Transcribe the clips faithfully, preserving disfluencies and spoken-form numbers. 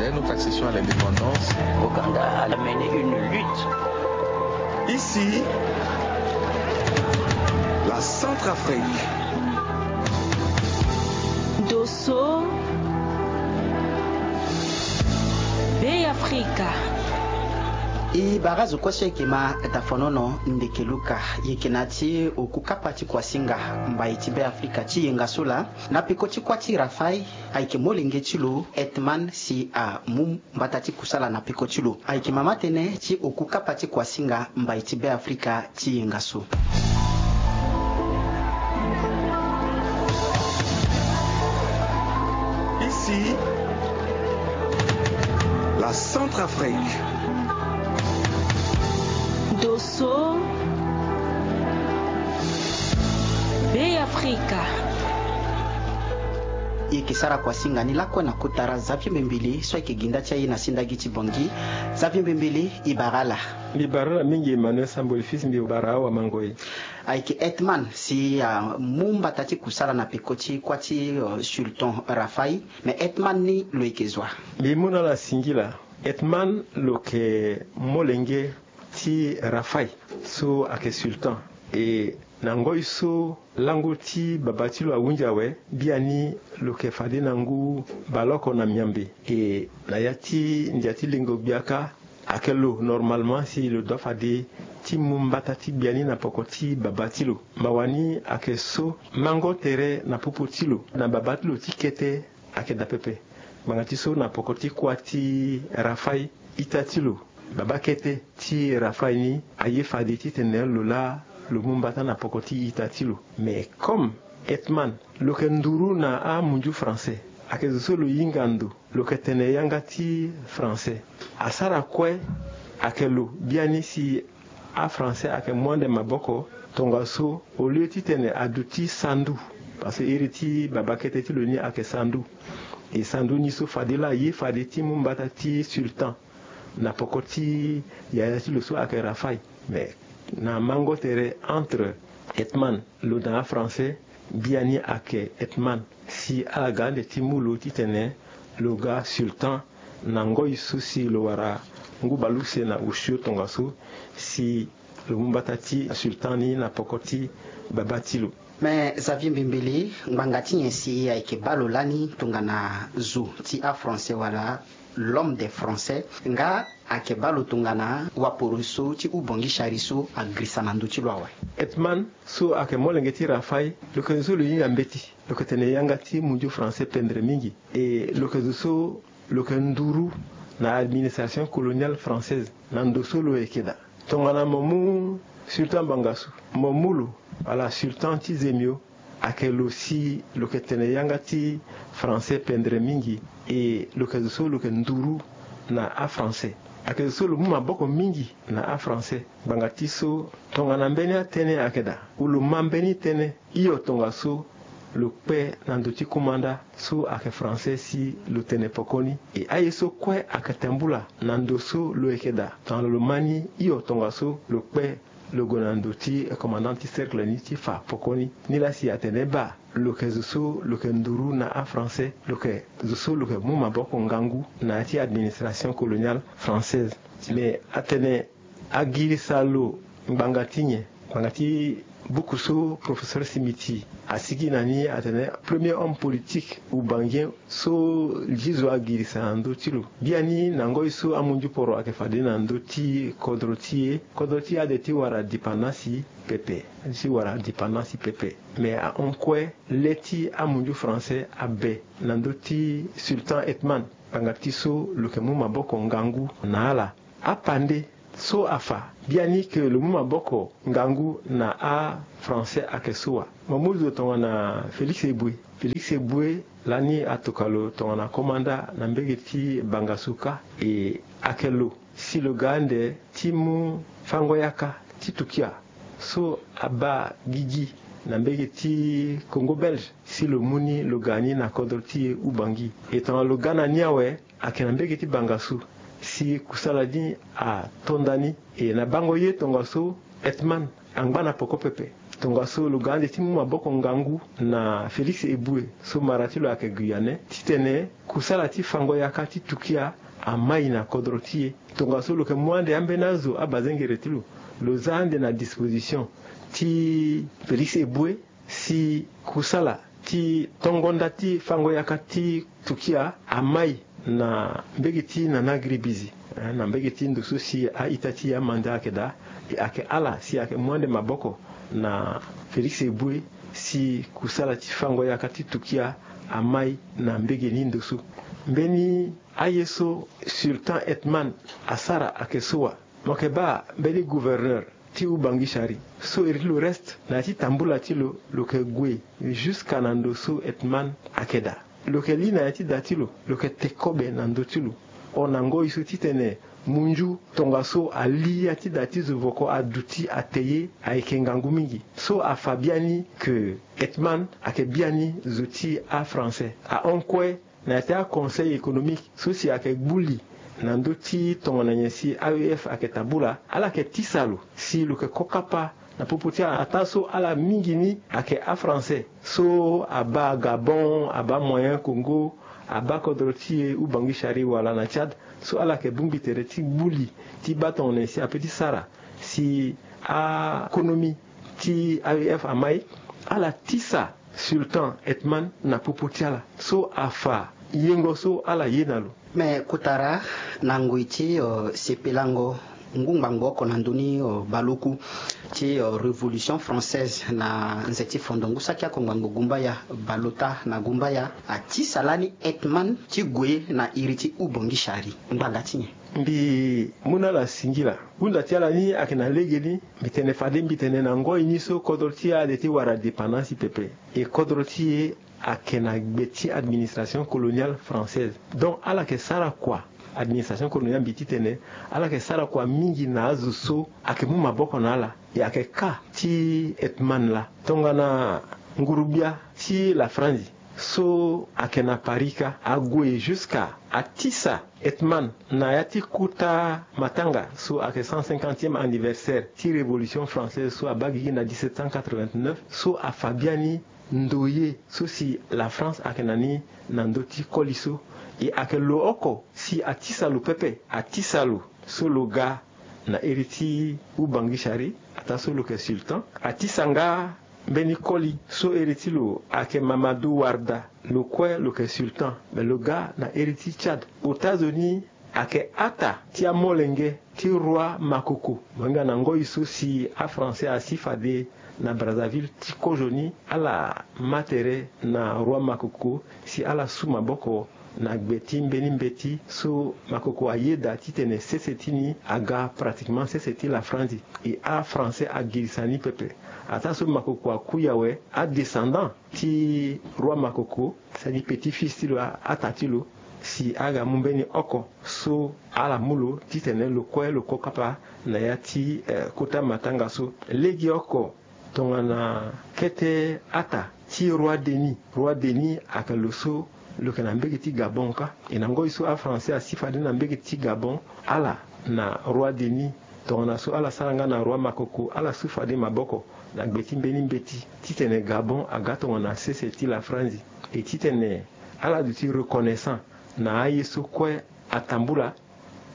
Dès notre accession à l'indépendance, Ouganda a mené une lutte. Ici, la Centrafrique. Dosso, Bêafrika. E bara zo kue so ayeke ma dafonono ndeke Luka, e yeke na ya ti oku kapa ti kuasinga mbai ti Bêafrika ti yenga so laa. Na peko ti kuâ ti Rafai, ayeke molenge ti lo Hetman si amu mbata ti kusala na peko ti lo. Ayeke mama tënë ti oku kapa ti kuasinga mbai ti Bêafrika ti yenga so. Ici, la Centrafrique. Dosso, Bêafrika. E yeke sara kuasinga ni lakue na kota ra Xavier Mbembele so ayeke gi nda ti aye na sindagi ti Bangui. Xavier Mbembele, e bara ala. Mbi bara ala mingi Emmanuel Samboli fils, mbi bara awamango e. Ayeke Hetman si amu mbata ti kusala na peko ti kuâ ti, euh, sultan Rafai. Me Hetman ni lo yeke zo wa? Mbi mu na ala singila. Hetman lo yeke molenge ti Rafai so ayeke sultan. E na ngoi so lango ti babâ ti lo ahunzi awe, biani lo yeke fade na ngu baleoko na miambe. E na ya ti ndia ti lengo gbia kâ, ayeke lo normalement si lo doit fade ti mu mbata ti gbia ni na poko ti babâ ti lo. Mawa ni ayeke so mango tere na popo ti lo na babâ ti lo ti kete ayeke daa pepe. Ngbanga ti so na poko ti kuâ ti Rafai, ita ti lo, babâ kete ti Rafai ni, aye fade titene lo laa lo mu mbata na poko ti ita ti lo. Mais comme Hetman, lo yeke nduru na amunzu français, ayeke zo so lo hinga ndo, lo yeke tene yanga ti français. Asara kue ayeke lo biani si afrançais ayeke mu ande maboko, tongaso au lieu titene aduti sandu, parce que iri ti babâ kete ti lo ni ayeke sandu. E sandu ni so fade laa aye fade ti mu mbata ti sultan na poko ti yaya ti lo so ayeke Rafai. Mais na mango tere entre Hetman lo na afrançais, biani ayeke Hetman si ala ga ande ti mu lo titene lo ga sultan. Na ngoi so si lo wara ngu baleuse na osio tongaso si lo mu mbata ti sultan ni na poko ti babâ ti lo. Me Xavier Mbembele, ngbanga ti nyen si ayeke baa lo lani tongana zo ti afrançais wala l'homme des français, nga ayeke baa lo tongana waporoso ti Oubangui Chari so agirisa na ndö ti lo awe? Hetman so ayeke molenge ti Rafai, lo yeke zo so lo hinga mbeti, lo yeke tene yanga ti munzu français pendre mingi. E lo yeke zo so lo yeke nduru na administration coloniale française na ndo so lo yeke daa. Tongana mo mu sultan Bangassou, mo mu lo wala sultan ti Zemio, ayeke lo si lo yeke tene yanga ti français pendre mingi. E lo yeke zo so lo yeke nduru na afrançais. Ayeke zo so lo mu maboko mingi na afrançais. Ngbanga ti so tongana mbeni atënë ayeke daa, ou lo ma mbeni tënë, hio tongaso lo kpe na ndö ti kumanda so ayeke français si lo tene pokoni. E aye so kue ayeke tambula na ndo so lo yeke daa, tongana lo ma ni, hio tongaso lo kpe lo gue na ndö ti commandant ti cercle ni ti fa pokoni. Nilaa si atene baa lo yeke zo so lo yeke nduru na afrançais, lo yeke zo so lo yeke mu maboko ngangu na ya ti administration coloniale française. Mais atene agirisa lo ngbanga ti nyen? Ngbanga ti buku so professeur Simiti asigi na ni atene premier homme politique oubangien so ti zo agirisa na ndö ti lo. Biani na ngoi so amunzu poro ayeke fade na ndö ti kodro ti e, kodro ti e ade ti wara dipendance pepe, ti wara dipendance pepe. Mais ahon kue le ti amunzu français abe na ndö ti sultan Hetman. Ngbanga ti so lo yeke mu maboko ngangu na ala. Apande so afa biani ke lo mu maboko ngangu na afrançais ayeke so wa. Mo mu zo tongana Félix Éboué. Félix Éboué lani atokua lo tongana komanda na mbege ti Bangassou kâ. E ayeke lo si lo ga ande ti mu fango yaka ti tukia so abaa gigi na mbege ti Congo belge, si lo mu ni lo ga ni na kodro ti e Oubangui. E tongana lo ga na ni awe, ayeke na mbege ti Bangassou si kusala ni ato nda ni. E na bango ye tongaso Hetman angba na poko pepe. Tongaso lo ga ande ti mu maboko ngangu na Félix Éboué so mara ti lo ayeke Guyanais titene kusala ti fango yaka ti Turquia amai na kodro ti e. Tongaso lo yeke mu ande ambeni azo abazengere ti lo, lo za ande na disposition ti Félix Éboué si kusala ti tongo nda ti fango yaka ti Turquia amai na mbege ti Nana Giribizi, eh, na mbege ti ndo so si a-ita ti e amanda ayeke daa. E ayeke ala si ayeke mu ande maboko na Félix Éboué si kusala ti fango yaka ti Turquia amai na mbege ni ndo so. Mbeni aye so Sultan Ethman asara ayeke so wa. Mo yeke baa mbeni gouverneur ti Ubangishari so iri ti lo reste na ya ti tambula ti lo, lo yeke gue jusqu'à na ndo so Ethman ayeke daa. Lo yeke li na ya ti da ti lo, lo yeke te kobe na ndö ti lo. Hon na ngoi so titene munzu tongaso ali ya ti da ti zo voko aduti ate ye ayeke ngangu mingi. So afa biani ke Ethman ayeke biani zo ti aFrançais. Ahon kue na ya ti aConseil économique so si ayeke gbu li na ndö ti tongana nyen si A E F ayeke tambula, ala yeke tisa lo si lo yeke ko kapa na popo ti ala. Ataa so ala mingi ni ayeke aFrançais so abaa Gabon, abaa Moyen Congo, abaa kodro ti e Ubangishari wala na Tchad, so ala yeke bongbi tere ti gbu li ti baa tongana nyen si ape ti sara si akonomi ti A E F amai. Ala tisa Sultan Ethman na popo ti ala so afa yengo so ala ye na lo. Me kotara na ngoi ti, eh, sepelango ngu ngbangbo oko na ndö ni, eh, baleoku ti, eh, Révolution française na nze ti fondongu saki oko ngbangbo gumbaya, baleota na gumbaya, atisa lani Ethman ti gue na iri ti Ubangishari. Ngbanga ti nyen? Mbi mu na ala singila. Hunda ti ala ni ayeke na lege ni. Mbi tene fade mbi tene na ngoi ni so kodro ti e ade ti wara dépendance pepe. E kodro ti e ayeke na gbe ti administration coloniale française. Donc ala yeke sara kua, administration coloniale mbi titene ala yeke sara kua mingi na azo so ayeke mu maboko na ala. E ayeke ka ti Ethman laa. Tongana ngurugbia ti la Franzi so ayeke na Paris ka ague jusqu'à atisa Ethman na ya ti kota matanga so ayeke cent cinquantième anniversaire ti Révolution française so abaa gigi na dix-sept cent quatre-vingt-neuf, so afa biani ndoye so si la France ayeke na ni na ndö ti koli so. E ayeke lo oko si atisa lo pepe, atisa lo so lo ga na iri ti Ubangishari, ataa so lo yeke sultan. Atisa nga mbeni koli so iri ti lo ayeke Mamadou Warda, lo kue lo yeke sultan, me lo ga na iri ti Tchad. Ota zo ni ayeke ata ti amolenge ti roi Makoko. Mo hinga na ngoi so si aFrançais asi fade na Brazzaville ti kozo ni, ala ma tere na roi Makoko si ala su maboko na gbe ti mbeni mbeti so Makoko ayeda titene sese ti ni aga pratiquement sese ti la Franzi. E aFrançais agirisa ni pepe. Ataa so Makoko akui awe, adescendant ti roi Makoko, c'est-à-dire petit-fils ti lo, a- ata ti lo, si aga mu mbeni oko so ala mu lo titene lo kue lo ko kapa na ya ti, eh, kota matanga so. Legeoko tongana kete ata ti roi Denis. Roi Denis ayeke lo so lo yeke na mbege ti Gabon ka. E na ngoi so aFrançais asi fade na mbege ti Gabon, ala na roi Denis. Tongana so ala sara nga na roi Makoko, ala su fade maboko na gbe ti mbeni mbeti titene Gabon aga tongana sese ti la Franzi. E titene ala duti reconnaissant na aye so kue atambula.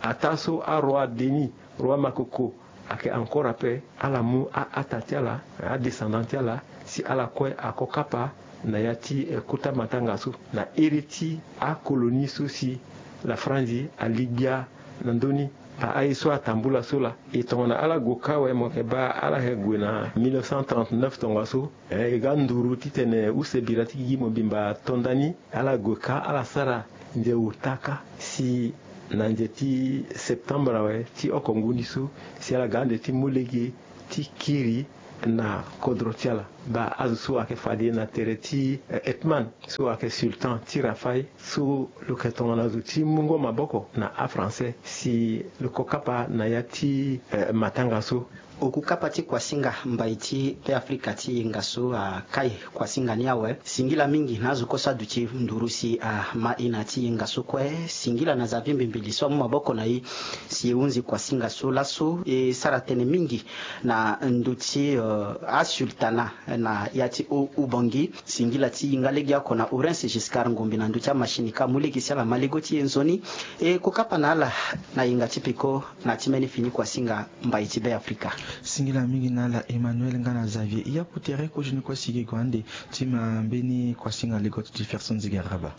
Ataa so aroi Denis, roi Makoko, ayeke encore ape, ala mu a- ata ti ala, adescendant ti ala, si ala kue ako kapa na ya ti, eh, kota matanga so na iri ti akolonie so si la Franzi ali gbia na ndö ni. A- aye so atambula so laa. E tongana ala gue ka awe, mo yeke baa ala yeke gue na mille neuf cent trente-neuf tongaso. Eh, e ga nduru titene use bira ti gigi mobimba ato ndani. Ala gue ka, ala sara nze ota ka, si na nze ti septembre awe ti oko ngu ni so, si ala ga ande ti mu lege ti kiri na kodro ti ala. Baa azo so ayeke fade na tere ti, eh, Ethman, so ayeke sultan ti Rafaï, so lo yeke tongana zo ti mungo maboko na aFrançais, si lo ko kapa na ya ti, eh, matanga so. Oku kapa ti kuasinga mbai ti Be Afrika ti yenga so akai kuasinga ni awe. Singila mingi na azo kue so aduti nduru si ama e na ti yenga so kue. Singila na Xavier Mbimbili so amu maboko na e si e hunzi kuasinga so laso. E sara tënë mingi na ndö ti asultana na ya ti Ubangi. Singila ti hinga legeoko na Orense Giscard Ngombe na ndö ti amachine ka amu lege si ala ma lego ti e nzoni. E ko kapa na ala na yenga ti peko na ti mbeni fini kuasinga mbai ti Be Afrika. Singila mingi na ala Emmanuel nga na Xavier. E yapu tere kozoni kue si e gue ande ti ma mbeni kuasinga lego ti Jefferson Zigaraba.